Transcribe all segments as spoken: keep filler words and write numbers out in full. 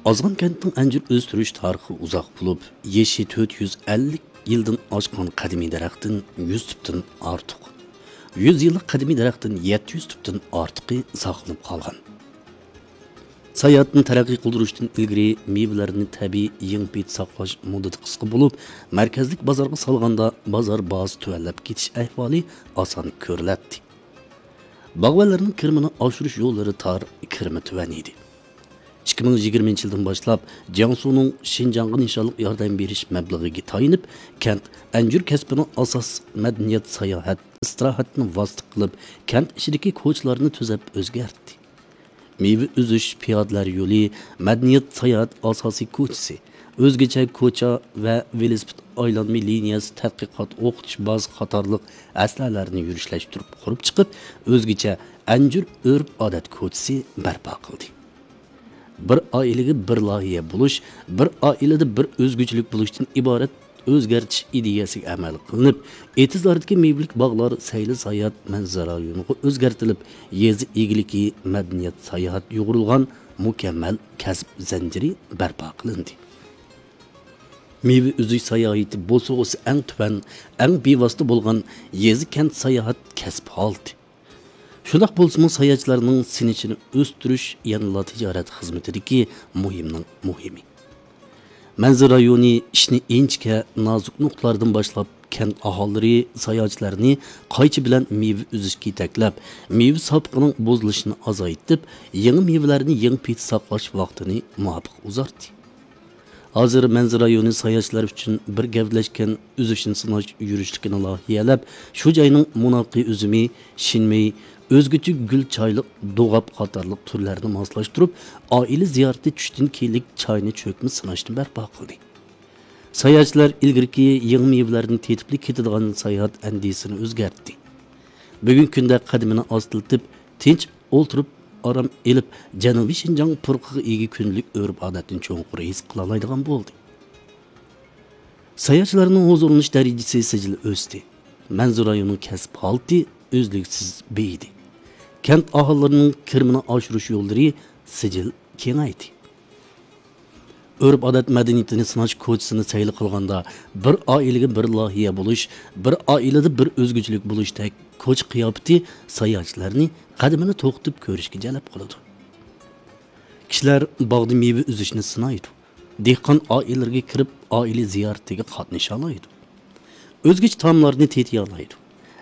ئازغان كەنتنىڭ ئەنجۈر ئۆستۈرۈش تارىخى ئۇزاق بولۇپ، يېشى تۆت يۈز ئەللىك يىلدىن ئاشقان قەدىمىي دەرەختىن يۈز تۈپتىن ئارتۇق، يۈز يىللىق قەدىمىي دەرەختىن يەتتە يۈز تۈپتىن ئارتۇقى ساقلىنىپ قالغان. ساياھەتنى تەرەققىي قىلدۇرۇشتىن ئىلگىرى مېۋىلەرنى تەبىئىي يېڭى پېتى ساقلاش مۇددىتى قىسقا بولۇپ، مەركەزلىك بازارغا سالغاندا بازار باھاسى تۆۋەنلەپ كېتىش ئەھۋالى ئاسان كۆرۈلەتتى. باغۋەنلەرنىڭ كىرىمىنى ئاشۇرۇش يوللىرى تار، كىرىمى تۆۋەن ئىدى. ئىككى مىڭ يىگىرمىنچى يىلدىن باشلاپ، جياڭسۇنىڭ شىنجاڭغا نىشانلىق ياردەم بېرىش مەبلىغىگە تايىنىپ، كەنت ئەنجۈر كەسپىنىڭ ئاساس مەدەنىيەت، ساياھەت، ئىستىراھەتنى ۋاسىتە قىلىپ، كەنت ئىچىدىكى كوچىلارنى تۈزەپ ئۆزگەرتتى. مېۋە ئۈزۈش پىيادىلەر يولى، مەدەنىيەت، ساياھەت ئاساسىي كوچىسى، ئۆزگىچە كوچا ۋە ۋېلىسىپىت ئايلانما لىنىيەسى، تەتقىقات، ئوقۇتۇش بازىسى قاتارلىق ئەسلىھەلەرنى يۈرۈشلەشتۈرۈپ قۇرۇپ چىقىپ، ئۆزگىچە ئەنجۈر ئۆرپ-ئادەت كوچىسى بەرپا قىلدى. بىر ئائىلىگە بىر لايىھە بولۇش، بىر ئائىلىدە بىر ئۆزگىچىلىك بولۇشتىن ئىبارەت ئۆزگەرتىش ئىدىيەسىگە ئەمەل قىلىنىپ، ئېتىزلاردىكى مېۋىلىك باغلار سەيلە ساياھەت مەنزىرە رايونىغا ئۆزگەرتىلىپ، يېزا ئىگىلىكى، مەدەنىيەت، ساياھەت يۇغۇرۇلغان مۇكەممەل كەسىپ زەنجىرى بەرپا قىلىندى. مېۋە ئۈزۈش ساياھىتى بوسۇغىسى ئەڭ تۆۋەن، ئەڭ بىۋاسىتە بولغان يېزا-كەنت ساياھەت كەسىپ ھالىتى. شۇنداق بولسىمۇ، ساياھەتچىلەرنىڭ سېنىشىنى ئۆستۈرۈش يەنىلا تىجارەت خىزمىتىدىكى مۇھىمنىڭ مۇھىمى. مەنزىرە رايونى ئىشنى ئىنچىكە، نازۇك نۇقتىلاردىن باشلاپ، كەنت ئاھالىلىرى، ساياھەتچىلەرنى قايچا بىلەن مېۋە ئۈزۈشكە يېتەكلەپ، مېۋە ساپىقىنىڭ بۇزۇلۇشىنى ئازايتىپ، يېڭى مېۋىلەرنى يېڭى پېتى ساقلاش ۋاقتىنى مۇۋاپىق ئۇزارتتى. ھازىر مەنزىرە رايونى ساياھەتچىلەر ئۈچۈن بىر گەۋدىلەشكەن ئۈزۈشنى سىناش يۈرۈشلۈكىنى لايىھەلەپ، شۇ جاينىڭ مۇناقى ئۈزۈمى، شىنمېي، ئۆزگىچە گۈل چايلىق، دوغاپ قاتارلىق تۈرلەرنى ماسلاشتۇرۇپ، ئائىلە زىيارىتى چۈشتىن كېيىنلىك چاينى چۆكمە سىناشنى بەرپا قىلدى. ساياھەتچىلەر ئىلگىرىكى يېڭى مېۋىلەرنى تېتىپلا كېتىدىغان ساياھەت ئەندىزىسىنى ئۆزگەرتتى. بۈگۈنكى كۈندە قەدىمىنى ئاستىلىتىپ، تىنچ ئولتۇرۇپ، ئارام ئېلىپ، جەنۇبىي شىنجاڭ پۇرىقىغا ئىگە كۈندىلىك ئۆرپ-ئادەتنى چوڭقۇر ھېس قىلالايدىغان بولدى. ساياھەتچىلەرنىڭ ھۇزۇرلىنىش دەرىجىسى سىجىل ئۆستى. مەنزىرە رايونىنىڭ كەسىپ ھالىتى ئۈزلۈكسىز بېيىدى. كەنت ئاھالىلىرىنىڭ كىرىمىنى ئاشۇرۇش يوللىرى سىجىل كېڭەيدى. ئۆرپ-ئادەت مەدەنىيىتىنى سىناش كوچىسىنى سەيلە قىلغاندا، بىر ئائىلىگە بىر لايىھە بولۇش، بىر ئائىلىدە بىر ئۆزگىچىلىك بولۇشتەك كوچا قىياپىتى ساياھەتچىلەرنى قەدىمىنى توختىتىپ كۆرۈشكە جەلپ قىلىدۇ. كىشىلەر باغدا مېۋە ئۈزۈشنى سىنايدۇ. دېھقان ئائىلىلىرىگە كىرىپ، ئائىلە زىيارىتىگە قاتنىشالايدۇ. ئۆزگىچە تائاملارنى تېتىيالايدۇ.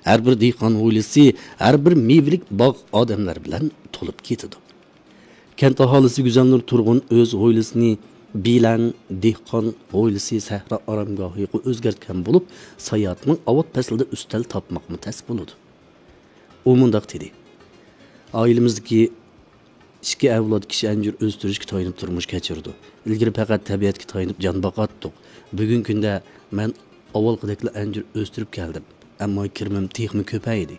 ھەر بىر دېھقان ھويلىسى، ھەر بىر مېۋىلىك باغ ئادەملەر بىلەن تولۇپ كېتىدۇ. كەنت ئاھالىسى گۈزەلنۇر تۇرغۇن ئۆز ھويلىسىنى بىلەڭ دېھقان ھويلىسى سەھرا ئارامگاھىغا ئۆزگەرتكەن بولۇپ، ساياھەتنىڭ ئاۋات پەسلىدە ئۈستەل تاپماقمۇ تەس بولىدۇ. ئۇ مۇنداق دېدى: «ئائىلىمىزدىكى ئىككى ئەۋلاد كىشى ئەنجۈر ئۆستۈرۈشكە تايىنىپ تۇرمۇش كەچۈرىدۇ. ئىلگىرى پەقەت تەبىئەتكە تايىنىپ جان باقاتتۇق. بۈگۈنكى كۈندە مەن ئاۋۋالقىدەكلا ئەنجۈر ئۆستۈرۈپ كەلدىم، ئەمما كىرىمىم تېخىمۇ كۆپەيدى.»